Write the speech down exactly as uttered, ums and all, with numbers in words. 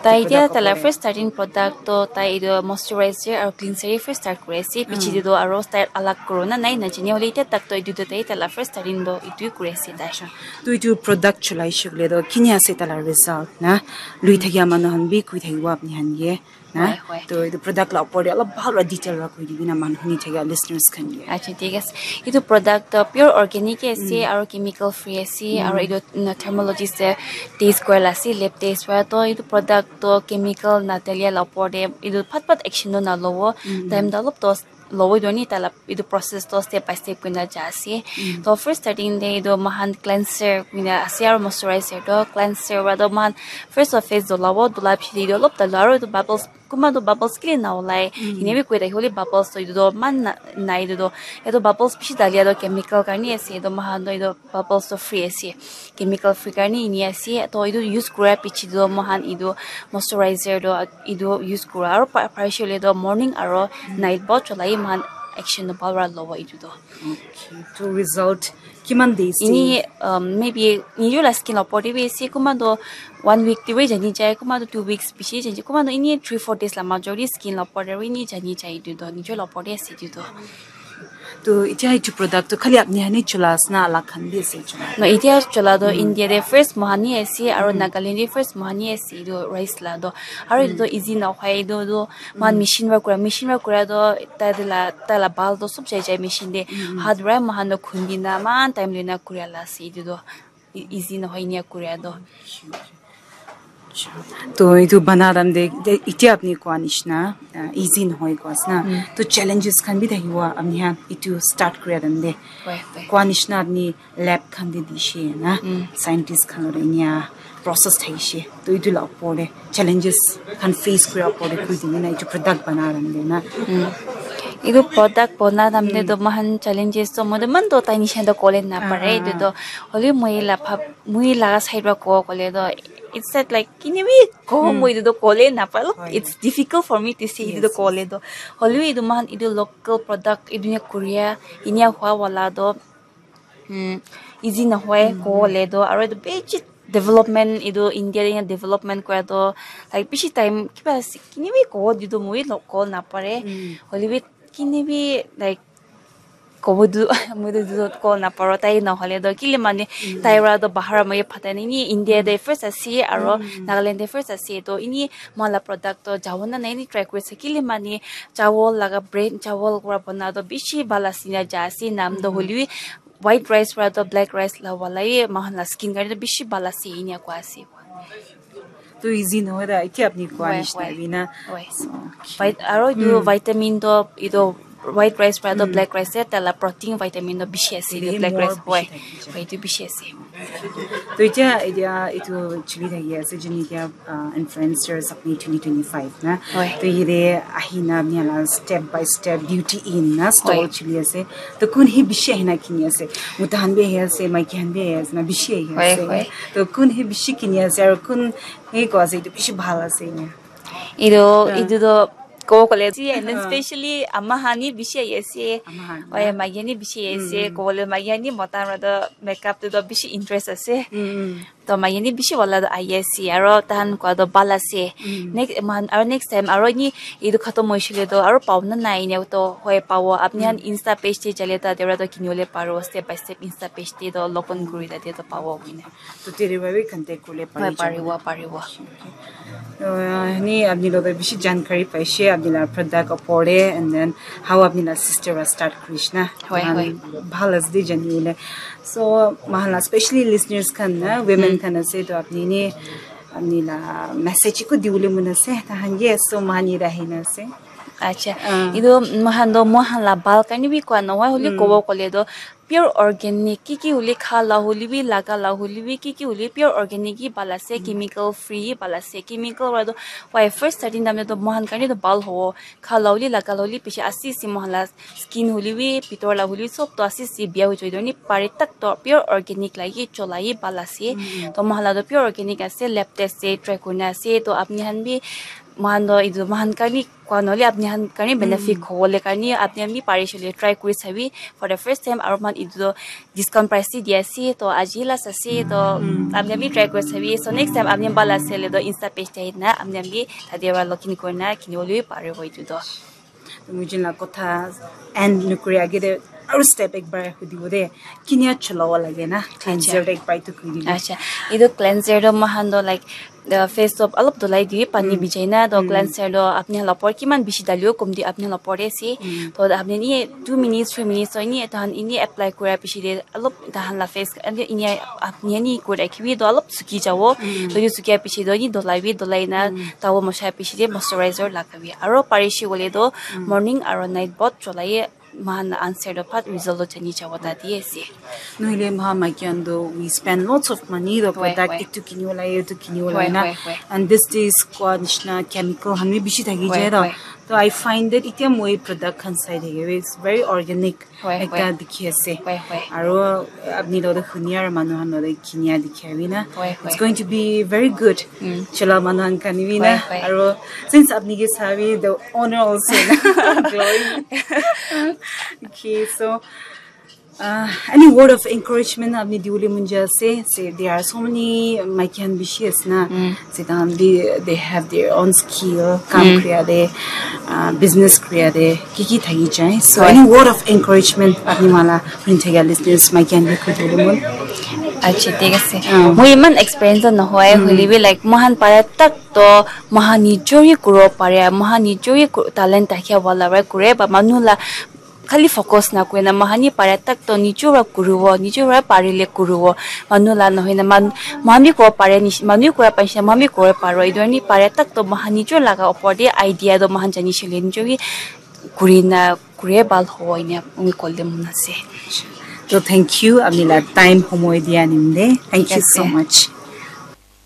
Tai etia product taila opor te? First starting product to tai etu moisturizer aru cleanser he first start kuri ase. Piche te to aru start alag kuru na nai na jani hole etia tak to etu to tai taila first starting to etu kuri ase tai. To etu product cholai shikle to kini ase taila result na? Lui thakia manu han bi kui thakibo apni han ke na? Hoi, hoi. To etu product la opor te alop bhal para detail para koi dibi na manu huni thakia listeners khan ke. Acha, thik ase. Etu product to pure organic he ase aru chemical free ase aru etu na thermologist te test kora la ase, lab test para. To etu product to chemical na dalia la opor te etu phat phat action to na lobo. Time to alop to lobo etu ni taila etu process to step by step kuri na ja ase. To first starting te etu moikhan cleanser kuri na ase aru moisturizer to cleanser para to moikhan first of face dolabo, dola piche te etu alop talu aru etu bubbles kunba to bubbles kile na olai. Ene bi koi thaki hole bubbles to etu to man na nai etu to. Etu bubbles bishi dalia to chemical karne ase. Etu moikhan to etu bubbles to free ase. Chemical free karne ene ase. To etu use kura piche to moikhan etu moisturizer to etu use kura. Aru pa-, parishe hoile to morning aru night bahut cholai moikhan action to bhal para lobo etu to. Okay. To result kiman days te? Ini, um, maybe nijor la skin la opor te bi ase, kunba to one week te bi jani jai, kunba to two weeks bishi jani jai, kunba to ini three four days la major te skin la opor te bi ini jani jai etu to nijor la opor te ase etu to. To etia etu product to khali apni hani chola ase na alag khan bi ase chola? No, etia chola to India te first moikhan he ase aru Nagaland te first moikhan he ase etu rice la to. Aru etu to easy na hoi etu to moikhan machine para kura, machine para kura to tai de la, tai la bhal to sob jai jai machine te. Hat para moikhan to khundi na eman time loi na kura la ase etu to. E-, easy nohoi enia kuria toh. To etu bana time te, te etia apni koa nishina, ah, easy nohoi koa ase na. To challenges khan bi thakibo apni khan etu start kuria time te. Hoi, hoi. Koa nishina apni lab khan te dishe na, scientist khan lore enia process thakishe. To etu la opor te challenges khan face kuria opor te koi dina etu product bana time te na. Etu product bana time te to moikhan challenges to moi to eman to tai nishina to kole napare. Etu to hoilebi moi la bhab, moi laga side para kobo koile toh, it's that like, kini bi kobo, moi etu toh kole napare. It's difficult for me to say etu toh kole toh. Hoilebi etu moikhan etu local product etu enia koria, enia hua wala toh, um, easy nohoi kobo le toh, aro etu bishi development, etu India te development kora toh, like, bishi time kiba ase, kini bi kobo etu toh moi bi kobo napare. Hoilebi kini bi, like, kobo tu, moi tu etu kobo naparo, tai nahole toh, kile mane, tai para toh bahar moi phatai nai ni, India te first ase, aro Nagaland te first ase, toh ini moikhan la product toh jabo na nai ni try kuri ase, kile mane, chawol laga brand, chawol para bana toh bishi bhal ase na ja ase, nam toh hoilebi white rice para toh black rice la wala he, moikhan la skin karne toh bishi bhal ase, enia koa ase. To easy nohoi da, etia apni koa nishina bi na. Hoi. So, okay. Vit-, aro etu vitamin toh, etu white rice para toh black rice te, tai la protein vitamin toh bishi ase, etu black rice. Hoi, etu bishi ase. To etia, etia etu chuli thaki ase, juni etia, ah, influencers apni twenty twenty-five na. Hoi. To yate ahina apni la step by step beauty in na stall chuli ase. To kun he bishi ahina kini ase? Mota khan bi ahi ase, maiki khan bi ahi ase na, bishi ahi ase. Hoi. To kun he bishi kini ase, aro kun he koa ase, etu bishi bhal ase enia? Etu, etu toh kobo kole ase, and then specially ama khan he bishi ahi ase. Ama khan. Hoi, maiki khan he bishi ahi ase. Kobo le maiki khan he, mota khan para toh makeup te toh bishi interest ase. To maiki khan he bishi wala toh ahi ase, aro tahan koa toh bhal ase. Next, aro next time, aro ni etu khatam hoishe le toh, aro pabo na nai enia toh, hoi pabo. Apni khan Insta page te jale toh, tate para toh kini bole paribo, step by step Insta page te toh log on kuri tate toh pabo koina. To tate para bi contact kurle pari jabo. Hoi, paribo, paribo. Uh, ni apni logot bishi jankari paishe, apni la product opor te, and then how apni la sister para start kurishe na. Hoi, hoi. Bhal ase de jani bole. So, moikhan la specially listeners khan na, women khan ase, to apni ni, apni la message eko dibole mon ase, tahan ke, so, moikhan yate ahina ase. Acha, etu moikhan toh, moikhan la bhal karne bi koa nohoi, hoile kobo kole toh, pure organic, ki ki hoile kha la hoile bi, laga la hoile bi, ki ki hoile pure organic he bhal ase, chemical free he bhal ase. Chemical para toh, why first starting time te toh moikhan karne toh bhal hobo, kha la hoile, laga la hoile, piche ase ase moikhan la skin hoile bi, bitor la hoile bi, sob toh ase ase, bia hoi jai toh ni pare tak toh pure organic la he chola he bhal ase. Toh moikhan la toh pure organic ase, lab test te try kurina ase. Toh apni khan bi, moikhan toh etu moikhan karne koa nohole, apni khan karne benefit hobo le karne, apni khan bi parishe le try kuri sabi for the first time, aro Etu toh discount price te di ase, to aji last ase, to apni khan bi try kuri sabi. So next time apni khan bhal ase hoile toh Insta page te ahi na apni khan bi tate para login kuri na kini bole bi paribo etu toh. Mujin la kotha end nukuri age te aru step ek bar hudi bo de. Kinia cholawa lage na cleanser ek bar tu kuri dibi. Acha, etu cleanser toh moikhan toh like the face toh alop dhulai di pani bijai na, to cleanser toh apni khan la opor kiman bishi daliwo komti apni khan la opor te ase. To apni ni two minutes, three minutes to ini tahan ini apply kura piche te alop tahan la face ani ini apni ani kura kibi toh alop suki jabo. To etu sukia piche toh ini dhulai bi, dhulai na tawo mosa piche te moisturizer lagabi. Aro parishe koile toh morning aro night both cholai moikhan la answer toh pat result toh jani jabo ta di ase. Nohile moikhan maiki khan toh we spend lots of money to product etu kinibo lage, etu kinibo lage na. And this days koa nishina chemical khan bi bishi thaki jai to. To I find that itia moi product khan sai thake, it's very organic ekta dikhi ase. Aro apni toh hunia aro manu khan toh kinia dikhi abi na. It's going to be very good. Chola manu khan khan bi na. Aro since apni ke sabi the owner also na. Glory. Okay, so uh, any word of encouragement apni diwole mon jai ase? Say there are so many maiki khan bishi ase na. Say they, they have their own skill, kam kura de, uh, business kura de, ki ki thaki jai. So any word of encouragement apni wala kuri thaka listeners maiki khan ke koi diwole mon. Acha, thik ase. Moi iman experience toh nohoi, hoile bi like moikhan para tak toh moikhan nijor hi kuribo pare, moikhan nijor hi ku-, talent thaka wala para kure, ba manu la khali focus na kurina moikhan hi pare tak toh nijor para kuribo, nijor para parile kuribo, manu la nohoi na man-, moikhan bi kuribo pare nishi-, manu bi kura paishe, moikhan bi kuribo pare, etu karne pare tak toh moikhan nijor laga opor te idea toh moikhan jani shele nijor hi kurina kure bhal hobo enia moi kole mon ase. To thank you, apni la time homoi dia nimde. Thank you so much.